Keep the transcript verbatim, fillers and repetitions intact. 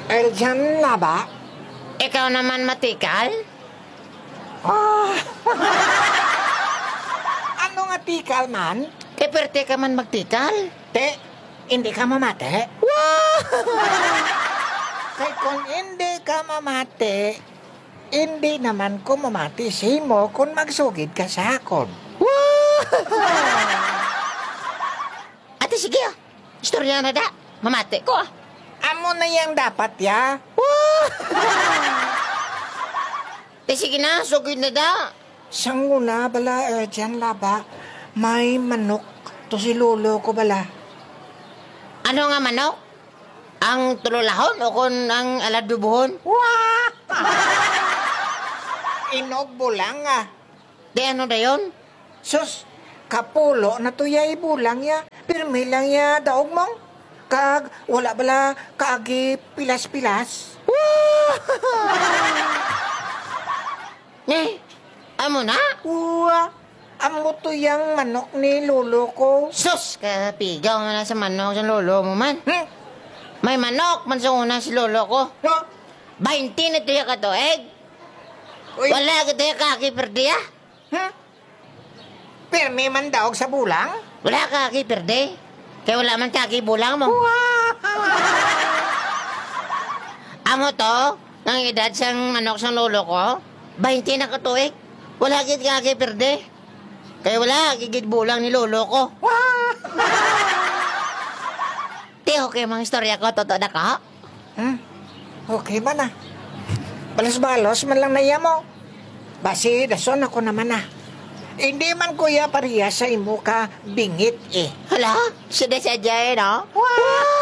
Eljan Laba? Ikaw naman matikal? Ah. Ano nga tikal man? Kay perte ka man magtikal. Te, hindi ka mamati? Wow! Kay kung hindi ka mamati, hindi naman ko mamati sa imo kung magsugid ka sa akon. Wow! Ate, sige, ah. Istorya na da. Mamati ko, ah. Amo na yang dapat, ya. Wow! Te, sige na, sugid na da. Sang una bala, eh, dyan laba, may manok to si lolo ko bala. Ano nga manok? Ang tulolahon o kon ang aladubuhon? Wah! Inog bulang, ah. Di ano dayon? Sus, kapulo na to ya ibulang ya. Pirmi lang ya daog mong. Kag wala bala kaagi pilas-pilas. Wah! Eh, amo na? Uwa, amo to yang manok ni lolo ko. Sus, kapigaw na sa manok sa lolo mo man. Hmm? May manok man sa una si lolo ko. No? Bainte na to ya katuig. Uy. Wala kita ya kaagi perdi, ah. Hmm? Pirmi man daog sa bulang? Wala kaagi perdi. Kay wala man kaagi bulang mo. Wow! Amo to, ang edad sang manok sang lolo ko, bainte na ka tuig. Wala gid kaagi perdi. Kay wala gid bulang ni lolo ko. Wow! Ti, okay, mga istorya ko, totoo na ka? Hmm? Okay man, ah. Balos-balos man lang na iya mo. Basi, dason ako naman, ah. Hindi man, kuya, pareha sa imo ka bingit, eh. Hala, sida sa Jay, no? Wow!